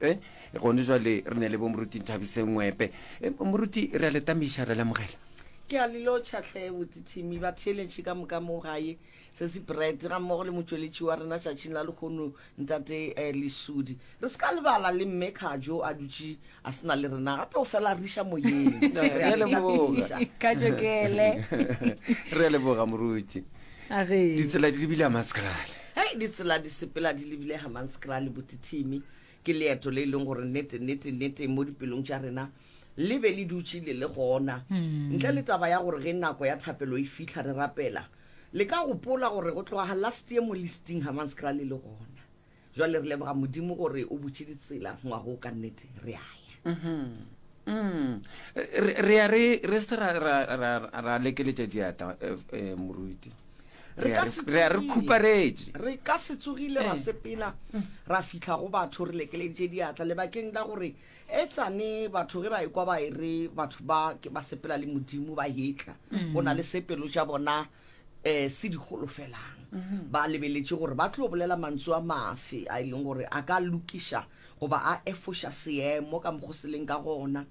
Eh, gone jwale re ne le bo moruti Nthabiseng Ngwepe. Eh, moruti re a le tamiša re lemogela. Ke a le lotšha hle botithimi ba theeletše ka moka mo gae se se bread ga mmogo le motšweletši wa rena tšatšing la lehono ntate eh, Lesudi. Re se ka lebala le mme Khajo a dutše a se na le rena gape o fela a riša moyeng. Re a leboga. Khajo kele. Re a leboga moruti. A ge. Ditsela di lebile Hammanskraal. Hei ditsela di sepela di lebile Hammanskraal botithimi. Ke leeto le e leng gore nnete, nnete, nnete mo dipelong tša rena le be le dutše le le gona. Ntle le taba ya gore ge nako ya thapelo e fihla re rapela, le ka gopola gore go tloga last year mo listing Hammanskraal e le gona. Jwale re leboga Modimo gore o butše ditsela ngwaga wo ka nnete re a ya. Re, re ya re, re se ra, ra, ra, ra lekeletša diatla, eh, eh, moruti. Re Re ka ya se re, re ya re tsogile. khuparetše. Re ka se tsogile ra sepela ra fihla go batho re lekeleditše diatla lebakeng la gore etsane batho ge ba ekwa ba e re batho ba ke ba sepela le Modimo ba hetla go na le se pelo tša bona um se di holofelang. Ba lebeletše gore ba tlo bolela mantšu a mafe a e leng gore a ka lokiša goba a efoša seemo ka mokgo se leng ka gona,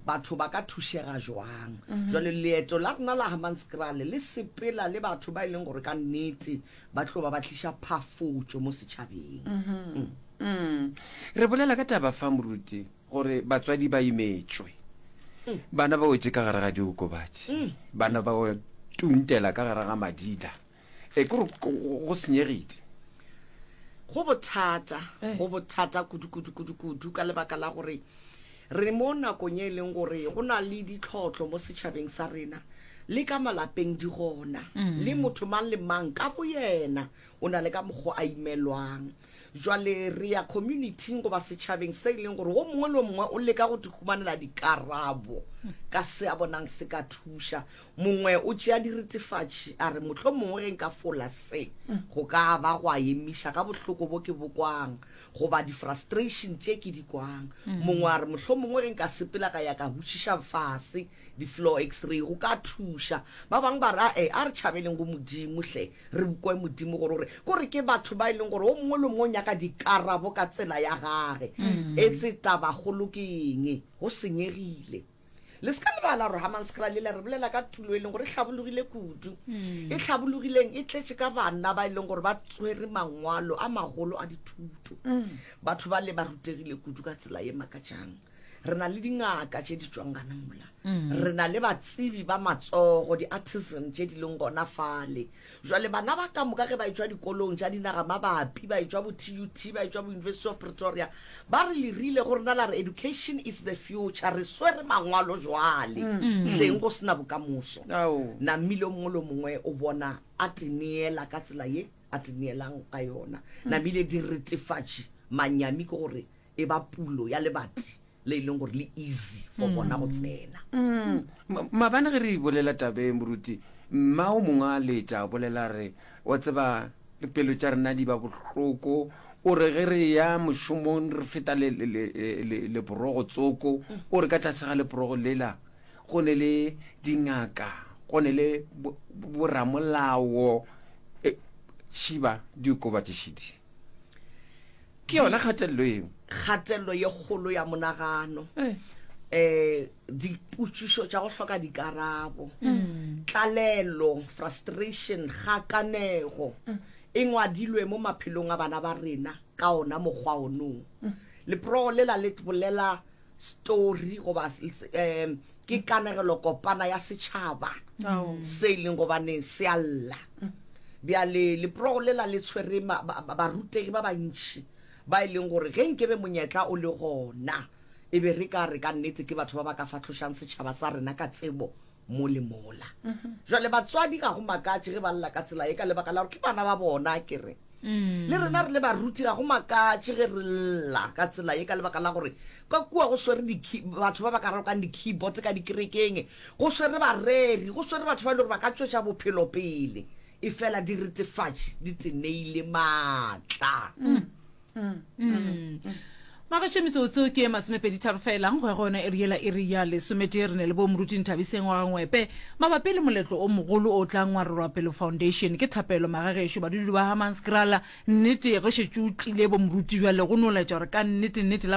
batho ba ka thušega jwang. Jwale leeto la rena la Hammanskraal le sepela le batho ba e leng gore ka nnete ba tlo ba ba tliša phafotšo mo setšhabeng. Mm. Re bolela ka taba fa moruti gore batswadi ba imetšwe. Bana ba wetše ka gare ga diokobatši. Bana ba tuntela ka gare ga madila. E ke gore go senyegile. Go bothata, go bothata kudu kudu kudu kudu ka lebaka la gore re mo nakong e leng gore go na le ditlhotlo mo setšhabeng sa rena le ka malapeng di gona le motho mang le mang ka boyena o na le ka mokgwa a imelwang. Jwale re ya community-ing goba setšhabeng se e leng gore wo mongwe le wo mongwe o leka go humanela dikarabo ka se a bonang se ka thuša. Mongwe o tšea diretefatši a re mohlomongwe ge nka fola se go ka ba gwa emiša ka bohloko bo ke bo kwang goba di-frustration tše ke di kwang. Mongwe a re mohlomongwe ge nka sepela ka ya ka botšiša fase di-floor x-ray go ka thuša. Ba bangwe ba re ae a re tšhabeleng go Modimo hle. Re kwe Modimo gore o re, ko re ke batho ba e leng gore o mongwe le o mongwe o nyaka dikarabo ka tsela ya gage. Etse tabakgolo ke eng? Go senyegile. Le se ka lebala gore Hammanskraal lela re bolela ka tulo e leng gore e hlabologile kudu. E hlabologileng e tletše ka banna ba e leng gore ba tswere mangwalo a magolo a dithuto. Batho ba le ba rutegile kudu ka tsela ye makatšang. Re na le dingaka tše di tšwang gana mola. Re na le batsebi ba matsogo, di-artisan tše di leng gona fale. Jwale bana ba ka moka ge ba etšwa dikolong tša dinaga mabapi, ba etšwa bo TUT, ba etšwa bo University of Pretoria, ba re le rile go rena la re education is the future, re swere mangwalo jwale, hleng go se na bokamoso. Namile o mongwe le o mongwe o bona a teneela ka tsela ye a teneelang ka yona. Namile diretefatši, manyami ke gore e ba pulo ya lebati le e leng gore le easy for bona go tsena. Mm. Maabane ge re bolela taba e moruti, mma o mongwe a letša a bolela re, wa tseba pelo tša rena di ba bohloko, o re ge re ya mošomong re feta le, le, le, le, leporogo tsoko, o re ka tlase ga leporogo lela go ne le dingaka, go ne le boramolao, e, šiba diokobatši šidi. Ke yona kgatelelo eo. Kgatelelo ye kgolo ya monagano. Eh, dipotšišo tša go hloka dikarabo. Tlalelo, frustration, kgakanego e ngwadilwe mo maphelong a bana ba rena ka ona mokgwa onoo. Leprogo lela le bolela story goba um ke kanegelo kopana ya setšhaba se e leng gobane se a lla. Bjale leprogo lela le tshwere barutegi ba bantši ba e leng gore ge nkebe monyetla o le gona e be re ka re ka nnete ke batho ba ba ka fahlošang setšhaba sa rena ka tsebo mo le mola. Jwale batswadi ga go makatše ge ba lla ka tsela ye ka lebaka la gore ke bana ba bona ke re. Le rena re le baruti ga go makatše ge re lla ka tsela ye ka lebaka la gore ka kua go swere batho ba ba ka rokang di-keyboard ka dikerekeng, go swere bareri, go swere batho ba e le gore ba ka tšwetša bophelo pele, efela diretefatši di teneile maatla. Magešo metsotso ke masomepeditharo fela go ya go yona iri yela iri ya lesometee re ne le bo moruti Nthabiseng wa Gangwepe mabapi le moletlo o mogolo o tla ngwarelwa pelo foundation ke thapelo magagešo badudi ba Hammanskraal nnete ge šetše o tlile bo moruti jwale go no laetša gore ka nnete nnete la.